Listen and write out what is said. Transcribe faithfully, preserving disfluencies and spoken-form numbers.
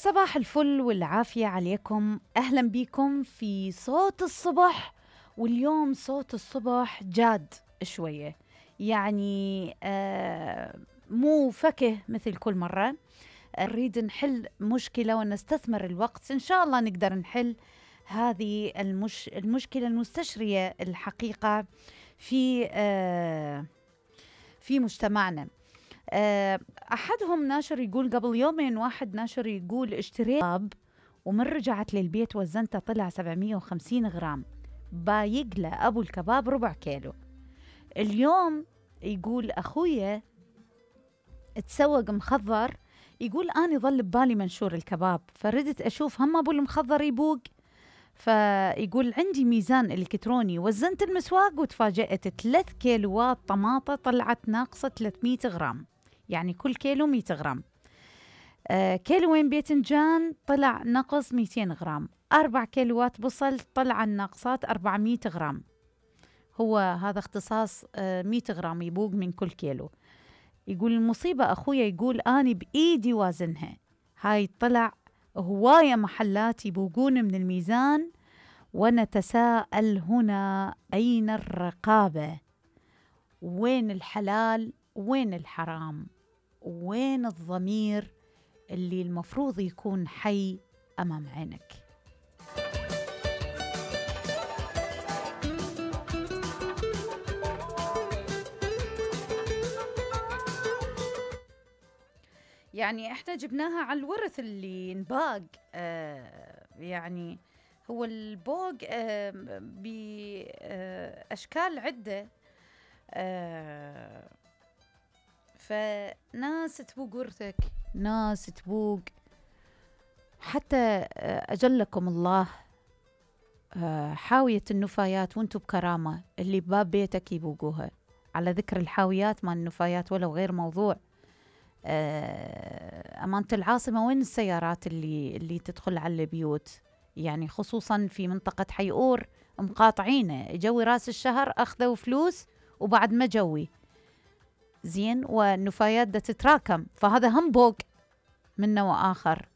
صباح الفل والعافية عليكم. أهلا بكم في صوت الصبح. واليوم صوت الصبح جاد شوية، يعني آه مو فكه مثل كل مرة. نريد نحل مشكلة ونستثمر الوقت، إن شاء الله نقدر نحل هذه المش... المشكلة المستشرية الحقيقة في آه في مجتمعنا. أحدهم ناشر يقول قبل يومين، واحد ناشر يقول اشتريت كباب ومن رجعت للبيت وزنته طلع سبعمية وخمسين غرام، بايق له أبو الكباب ربع كيلو. اليوم يقول أخويا تسوق مخضر، يقول أنا ظل ببالي منشور الكباب فردت أشوف هم أبو المخضر يبوق، فيقول عندي ميزان إلكتروني وزنت المسواق وتفاجأت ثلاث كيلوات طماطة طلعت ناقصة ثلاثمية غرام، يعني كل كيلو مية غرام. آه كيلوين باذنجان طلع نقص ميتين غرام، أربع كيلوات بصل طلع الناقصات أربعمية غرام. هو هذا اختصاص آه مية غرام يبوق من كل كيلو. يقول المصيبة أخويا يقول أنا بإيدي وازنها، هاي طلع هواية محلات يبوقون من الميزان، ونتساءل هنا أين الرقابة؟ وين الحلال؟ وين الحرام؟ وين الضمير اللي المفروض يكون حي أمام عينك؟ يعني احنا جبناها على الورث اللي نباق. آه يعني هو البوق آه بأشكال عدة. آه فناس تبوق ورثك، ناس تبوق حتى أجلكم الله حاوية النفايات وانتو بكرامة اللي بباب بيتك يبوقوها. على ذكر الحاويات ما النفايات ولو غير موضوع، أمانة العاصمة وين السيارات اللي اللي تدخل على البيوت؟ يعني خصوصا في منطقة حيئور مقاطعينه، جوي راس الشهر أخذوا فلوس وبعد ما جوي زين، والنفايات دا تتراكم، فهذا هم بوق من نوع آخر.